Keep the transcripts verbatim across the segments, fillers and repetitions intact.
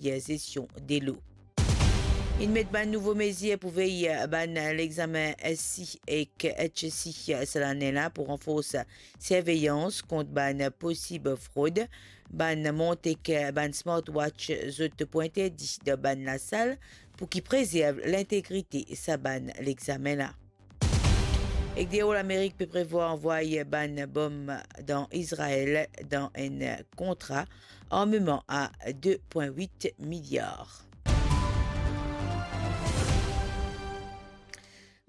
gestion delo. Inn met bann nouvo mezir pou vey bann lexamen S C ek H S C sa lane la pou ranfors sirveyans kont bann posib frod. Bann mont ek bann smartwatch zot pou interdi dan bann lasal pou ki prezerv lintegrite sa bann lexamen la. Ek deor Lamerik pe prevwar anvway bann bom dan Izrael dan enn kontra armeman a de pwin wit miliar.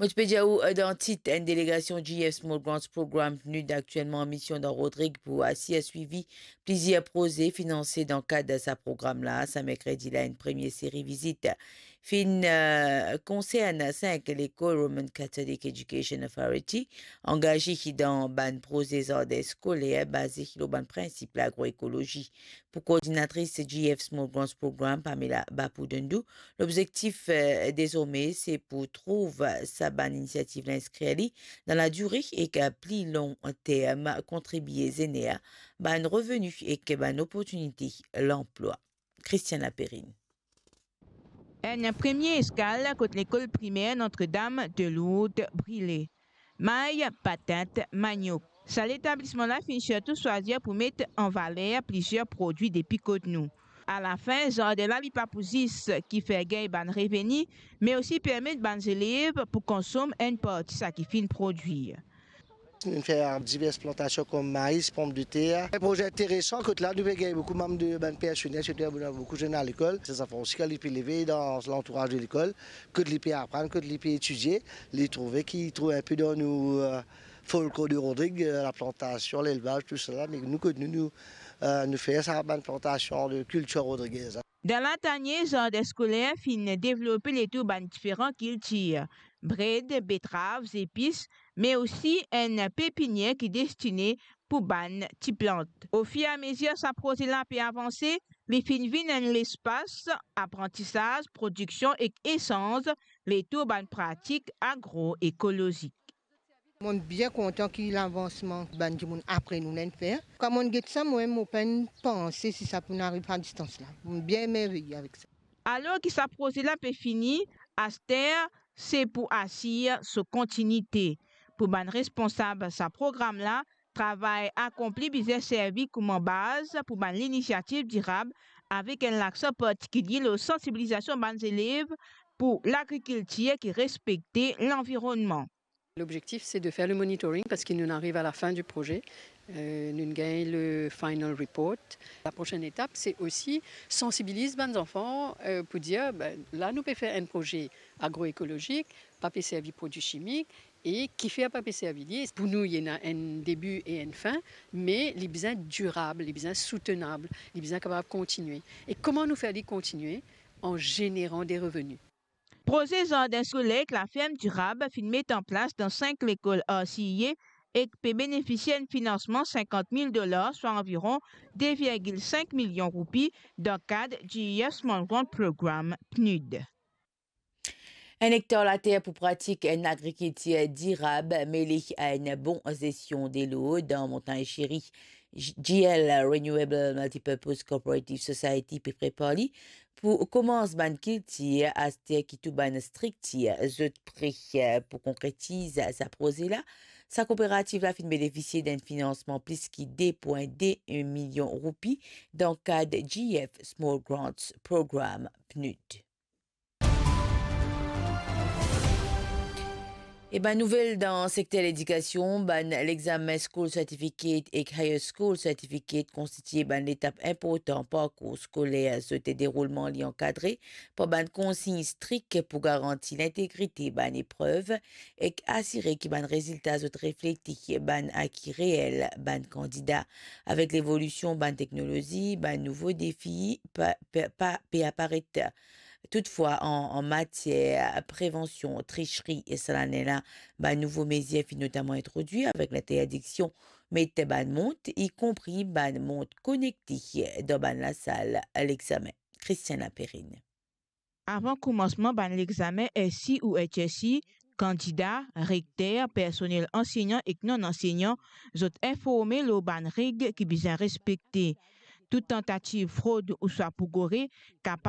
Mo ti pe dir ou, eh, dan tit, enn delegasion G F Small Grants Program, PNUD, aktielman an mision dan Rodrig pou asir swivi plizier proze finanse dan kad sa program la. Sa merkredi la, enn premie seri vizit finn, eh, konsern sink lekol Roman Catholic Education Authority angaze dan bann proze zardin skoler baze lor bann prinsip lagroekolozi. Pou koordinatris G F Small Grants Program, Pamela Bapudundu, lobzektif, eh, dezorme, se pou trouv sa bann inisiativ la, inskrir li dan ladire ek, eh, pli long term, kontribie zener bann reveni ek bann oportinite lanplwa. Christiane Laperrine. Enn premie eskal kot lekol primer Notre-Dame de Lourdes Brilé. May, patant, maniok. Sa letablisman la finn sirtou swazir pou met an valer plizier prodwi depi kot nou. Alafin, zardin la li pa pou zis ki fer gagn bann reveni, me osi permet bann zelev pou konsom enn parti sa ki finn prodwir. Nou fer divers plantasion kom maiz, pomdeter. Enn proze interesan kot la nou pe gagn boukou manm de bann personel, sirtou ena boukou zenn lekol. Sa fer osi ki li pe leve dan lantouraz de lekol, kot li pe aprann, kot li pe etidie, li trouve ki trouv inpe dan nou, eh, folklor de Rodrig, eh, laplantasion, lelvaz, tousala. Me nou kot nou, nou, eh, nou fer sa bann plantasion de kiltir rodrigez la. Dan latane, zardin skoler finn devlope letour bann diferan kiltir, bred, betrav, zepis, me osi enn pepinier ki destine pou bann ti plant. Ofiramezir sa proze la pe avanse, li finn vinn enn lespas aprantisaz, prodiksion ek esanz letour bann pratik agroekolozik. Mo bien kontan ki lavansman bann dimoun apre nou la inn fer. Kan mo get sa, mo, mo pa'nn panse si sa pou ariv a distans la. Mo bien emerveye avek sa. Alor ki sa proze la pe fini, aster se pou asir so kontinite. Pou bann responsab sa program la, travay akonpli bizin servi kouma baz pou bann linisiativ dirab, avek enn laksan partikilie lor sansibilizasion bann zelev pou lagrikiltir ki respekte lanvironnman. L'objectif, c'est de faire le monitoring parce que nous arrivons à la fin du projet. Euh, nous gagnons le final report. La prochaine étape, c'est aussi sensibiliser bann zanfan, euh, pou dir, ben, la nou pe fer enn proze agroekolozik, pa pe servi prodwi chimik, e kifer pa pe servi li. Pou nou, li ena enn debi e enn fin, me li bizin dirab, li bizin soutenab, li bizin kapav kontinie. E kouma nou fer li kontinie? An zeneran de reveni. Proze zardin skoler ek laferm dirab finn met an plas dan sink lekol R C I A ek pe benefisie enn finansman sinkant mil dolar, swa anviron de virgil sink milion roupi, dan kad G E F Small Grant Program, PNUD. Enn ektar later pou pratik enn agrikiltir dirab mele a enn bon zestion delo dan Montagn Chérie. G L Renewable Multipurpose Cooperative Society pe prepar li pou koumans bann kiltir, aster ki tou bann striktir zot pre pou konkretiz sa proze la. Sa kooperativ la finn benefisie d'enn finansman plis ki de pwin de milion roupi dan kad G F Small Grants Program, PNUD. E bann nouvel dan sekter ledikasion, bann lexamen School Certificate ek Higher School Certificate konstitie bann letap inportan parkour skoler. Zot deroulman li ankadre par bann konsign strik pou garanti lintegrite bann eprev ek asire ki bann rezilta zot reflekte bann aki reel bann kandida. Avek levolision bann teknolozi, bann nouvo defi pa, pa, pa, pe aparet. Toutfwa, an, an matier prevansion trisri, e sa lane la, bann nouvo mezir finn notaman introdwir avek linterdiksion met bann mont, ikonpri bann mont konekte, dan bann lasal lexamen. Christiane Laperrine. Avan koumansman bann lexamen S C ou H S C, kandida, rekter, personel ansegnan ek non-ansegnan, zot informe lor bann reg ki bizin respekte. Tou tantativ frod ouswa pou gore kapav